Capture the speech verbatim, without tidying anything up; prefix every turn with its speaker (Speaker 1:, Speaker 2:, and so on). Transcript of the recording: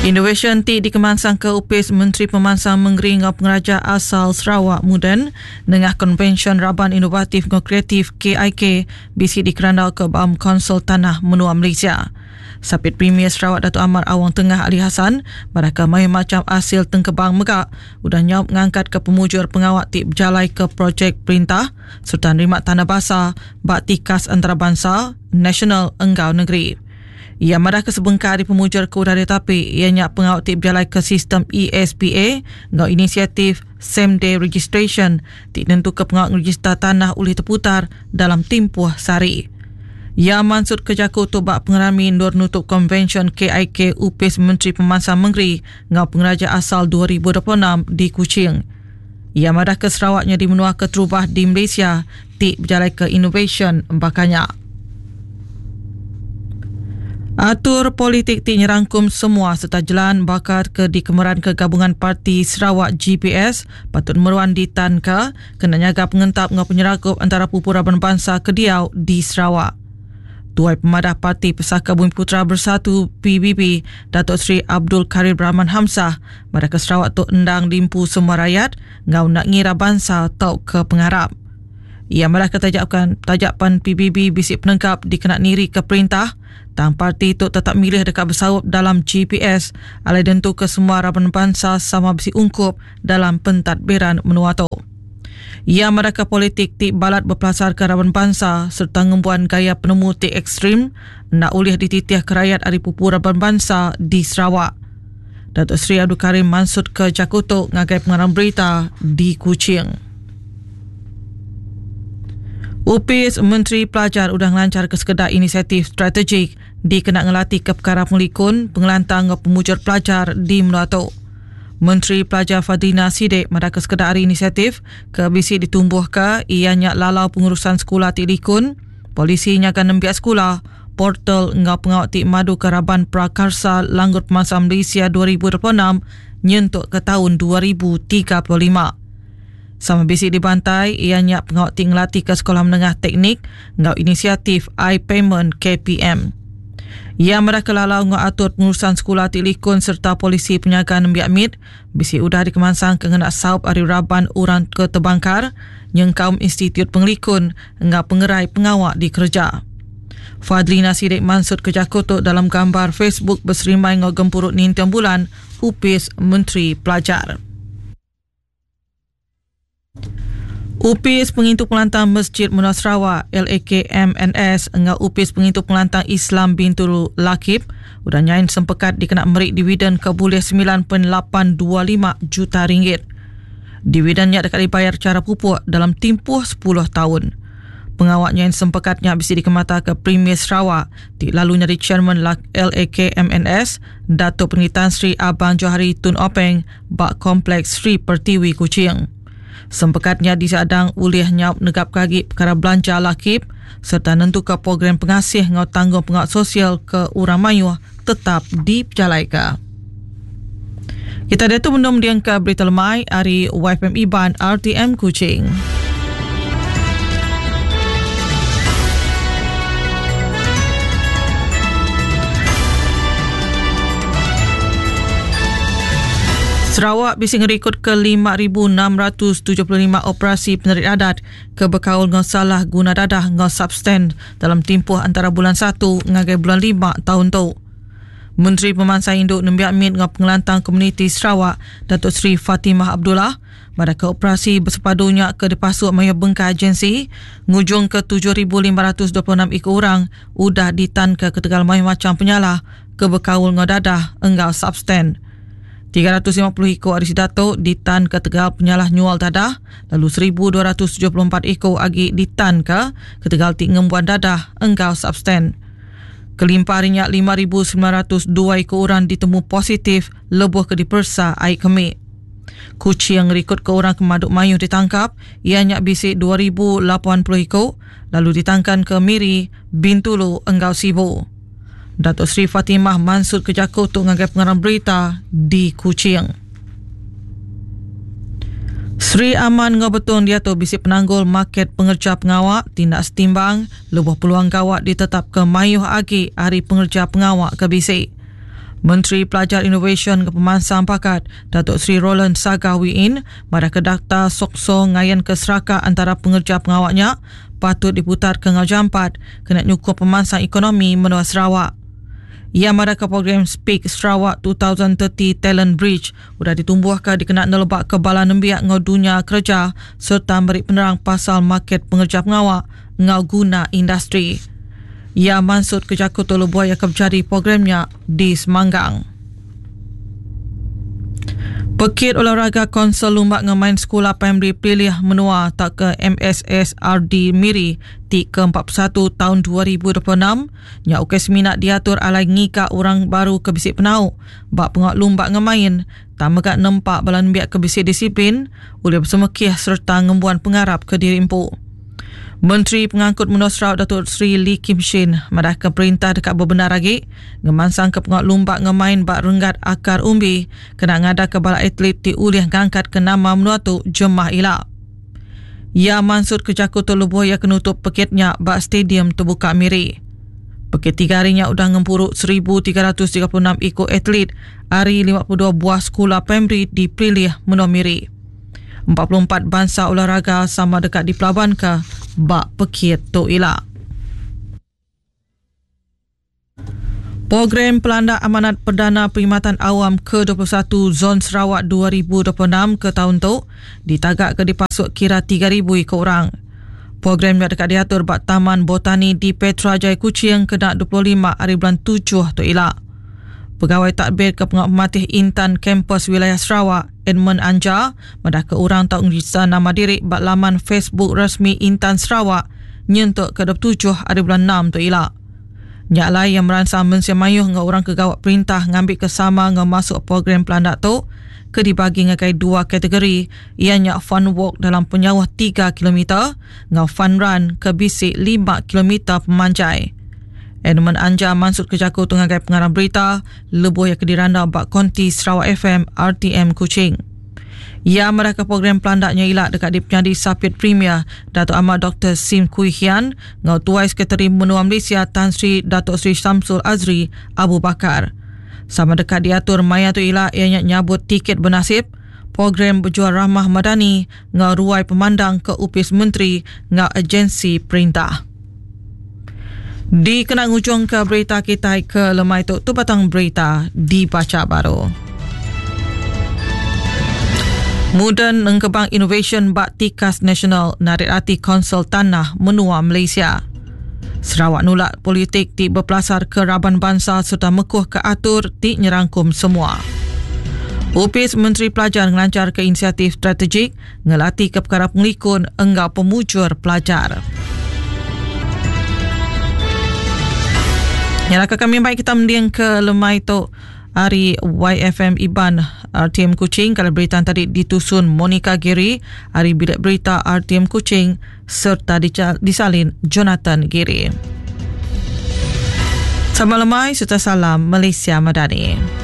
Speaker 1: Inovasyen ti dikemansang ke Upis Menteri Pemansang Mengeri Ngau Pengeraja Asal Sarawak Muden nengah Konvensyen Raban Inovatif Ngau Kreatif K I K bisi dikerandau ke Baum Konsul Tanah Menua Malaysia. Sapit Premier Sarawak Datuk Amar Awang Tengah Ali Hasan baraka mayuh macam hasil tengkebang mega udah nyaup ngangkat ke pemujur pengawak ti berjalai ke projek perintah serta nerima tanda basa bak tikas antarabangsa, nasional enggau negeri. Ia madah ke sebengkar di pemujur ke udah ditapi ianya pengawak ti berjalai ke sistem E S P A enggau inisiatif Same Day Registration ti tentu ke pengawak ngeregister tanah oleh terputar dalam tempoh sehari. Ia maksud ke jaku tu bak pengerami nur nutup Konvensyen K I K Upis Menteri Pemansang Mengeri enggau Pengeraja Asal dua ribu dua puluh enam di Kuching. Ia madah ke Sarawaknya di menua keterubah di Malaysia ti berjalai ke inovasyen bakanya. Atur politik ti nyerangkum semua serta jalan bakar ke dikemeran ke Gabungan Parti Sarawak G P S patut meruan ditanka kena nyaga pengentap ngau penyerakup antara pupu raban bangsa kediau di Sarawak. Tuai Pemadah Parti Pesaka Bumi Putra Bersatu P B B Datuk Seri Abdul Karim Rahman Hamzah pada ke Sarawak tu endang dimpu semua rakyat ngau nak ngira bangsa tau ke pengharap. Ia malah ketajakan tajapan P B B bisik penengkap dikena niri ke perintah tang parti itu tetap milih dekat bersaup dalam G P S alai dentu ke semua raban bangsa sama besi ungkup dalam pentadbiran menua tu. Ia mereka politik ti balat berpelasar ke raban bangsa serta ngembuan gaya penemu ti ekstrim nak ulih dititih ke rakyat ari pupu raban bangsa di Sarawak. Datuk Seri Abdul Karim mansut ke Jakutuk ngagai pengarang berita di Kuching. Upis Menteri Pelajar udah ngelancar ke sekedar inisiatif strategik dikena ngelatih ke perkara pengelikun, pengelantang ngau pemujur pelajar di menua tu. Menteri Pelajar Fadhlina Sidek madah ke sekedar hari inisiatif ke bisi ditumbuh ke ianya lalau pengurusan sekolah ti likun, polisi nyaga nembiak sekolah, portal ngau pengawak ti madu ke Raban Prakarsa Langgur Pemansang Malaysia dua ribu dua puluh enam nyentuk ke tahun dua ribu tiga puluh lima. Sama bisi dibantai ianya pengawak ti ngelatih ke sekolah menengah teknik ngau inisiatif iPayment K P M. Ia merah kelalau ngau atur pengurusan sekolah ti likun serta polisi penyaga nembiak mid bisi udah dikemansang ke ngena saup ari raban orang ke terbangkar nyengkaum Institut Pengelikun ngau pengerai pengawak di kerja. Fadhlina Sidek mansut ke Jakotok dalam gambar Facebook berserimai ngau gempuruk nintiang bulan Upis Menteri Pelajar. Upis Pengintu Pengelantang Masjid Menua Sarawak L A K M N S engau Upis Pengintu Pengelantang Islam Bintulu Lakib udah nyain sempekat dikena merik dividen ke bulih sembilan perpuluhan lapan dua lima juta ringgit. Dividennya dekat dibayar cara pupuk dalam tempoh sepuluh tahun. Pengawak nyain sempekatnya bisa dikemata ke Premier Sarawak ti lalu nyari Chairman L A K M N S Datuk Pengitan Sri Abang Johari Tun Openg bak Kompleks Sri Pertiwi Kuching. Sempekatnya disadang ulih nyaup negap kagi perkara belanja lakib serta nentu ke program pengasih ngau tanggung pengawak sosial ke orang mayuh tetap diperjalaika. Kita ada tu mendung diang ke berita lemai hari Y F M Iban R T M Kuching. Sarawak bisa ngerikut ke lima ribu enam ratus tujuh puluh lima operasi penerit adat ke berkaul ngau salah guna dadah ngau substan dalam tempoh antara bulan satu ngagai bulan lima tahun tu. Menteri Pemansang Induk Nembiak Mit ngau Pengelantang Komuniti Sarawak Datuk Seri Fatimah Abdullah pada ke operasi bersepadunya ke dipasuk maya bengkai agensi ngujung ke tujuh ribu lima ratus dua puluh enam ikut orang udah ditan ke ketegal maya macam penyalah ke berkaul ngau dadah engau substan. tiga ratus lima puluh ikut ari Datuk ditan ke tegal penyalah nyual dadah, lalu seribu dua ratus tujuh puluh empat ikut agi ditan ke ketegal ti ngembuan dadah engkau substan. Kelimpahnya lima ribu sembilan ratus dua ikut orang ditemu positif lebuh ke dipersa air kemik. Kuching rekod ke orang kemaduk mayu ditangkap, ianya bisik dua ribu lapan puluh ikut, lalu ditangkan ke Miri, Bintulu, Enggau Sibu. Datuk Seri Fatimah Mansud ke Jakob untuk ngagai pengarang berita di Kuching. Sri Aman ngau betung dia tu bisik penanggul market pengerja pengawak tindak setimbang lebuh peluang gawak ditetap ke mayuh agi hari pengerja pengawak ke bisik. Menteri Pelajar Inovasyen ke Pemansang Pakat Datuk Seri Roland Sagah Wee Inn madah ke data sokso ngayan ke seraka antara pengerja pengawaknya patut diputar ke ngau jampat kena nyukup pemansang ekonomi menua Sarawak. Ia madah ke program Speak Sarawak dua ribu tiga puluh Talent Bridge udah ditumbuhkan dikena nelebak ke bala nembiak ngau dunia kerja serta beri penerang pasal market pengerja pengawak ngau guna industri. Ia maksud kerja kutu lebuh yang kebjari programnya di Semanggang. Pekit olahraga Konsol Lumbak Ngemain Sekolah Primary Pilih Menua tak ke M S S R D Miri ti ke empat puluh satu tahun dua ribu dua puluh enam nya ukai seminat diatur alai ngika orang baru ke bisik penau bak pengak lumbak ngemain tak megak nempak balan biak ke bisik disiplin oleh bersemekih serta ngembuan pengarap ke diri empu. Menteri Pengangkut Menua Sarawak Datuk Seri Lee Kim Shin madah ke perintah dekat berbenar lagi ngemansang ke pengak lumbak ngemain bak renggat akar umbi kena ngada ke bala atlet ti ulih ngangkat ke nama menua tu jemah ila. Ia maksud ke jaku tu lebuh ia kenutup pekitnya bak stadium terbuka Miri. Pekit tiga harinya udah ngempuruk seribu tiga ratus tiga puluh enam ikut atlet hari lima puluh dua buah sekolah primary di Pilih Menua Miri. empat puluh empat bangsa olahraga sama dekat di Pelabuhan ke bak pekit tu ila. Program Pelanda Amanat Perdana Perkhidmatan Awam ke dua puluh satu Zon Sarawak dua ribu dua puluh enam ke tahun tu ditagak ke dipasuk kira tiga ribu ikut orang. Program yang dekat diatur bak Taman Botani di Petra Jaya Kuching kena dua puluh lima hari bulan tujuh tu ila. Pegawai Takbir ke Pengamat Intan Kampus Wilayah Sarawak, Edmund Anja, madah ke orang tak ngerisa nama diri bak laman Facebook resmi Intan Sarawak nyentuk ke dua puluh tujuh hari bulan enam tu ila. Nyak lai yang merangsang mensia mayuh ngau orang kegawat perintah ngambil kesama ngau masuk program pelandak tu ke dibagi ngagai dua kategori ianya fun walk dalam penyauh tiga kilometer ngau fun run ke bisik lima kilometer pemanjai. Edmund Anja maksud kejaku tu ngagai pengarang berita lebuh yang kediranda bak konti Sarawak F M R T M Kuching. Ia mereka program pelandaknya ilak dekat di penyadi Sapit Premier Datuk Ahmad Doktor Sim Kui Hian ngau tuai Sekretari Menua Malaysia Tan Sri Datuk Sri Samsul Azri Abu Bakar. Sama dekat diatur maya tu ilak ianya nyabut tiket bernasib program berjual rahmah madani ngau ruai pemandang ke upis menteri ngau agensi perintah. Di kena ngujung ke berita kita ke lemai tu, tu batang berita dibaca baru. Mudan Engkebang Innovation Bak Tikas Nasional narik hati Konsol Tanah Menua Malaysia. Sarawak nulak politik ti berpelasar ke raban bangsa serta mekuh ke atur ti nyerangkum semua. Upis Menteri Pelajar ngelancar ke inisiatif strategik ngelati ke perkara pengelikun enggau pemujur pelajar. Nyalaka kami baik kita mending ke lemai tu hari Y F M Iban R T M Kuching. Kalau berita tadi ditusun Monica Giri, hari bilik berita R T M Kuching serta disalin Jonathan Giri. Selamat lemai serta salam Malaysia Madani.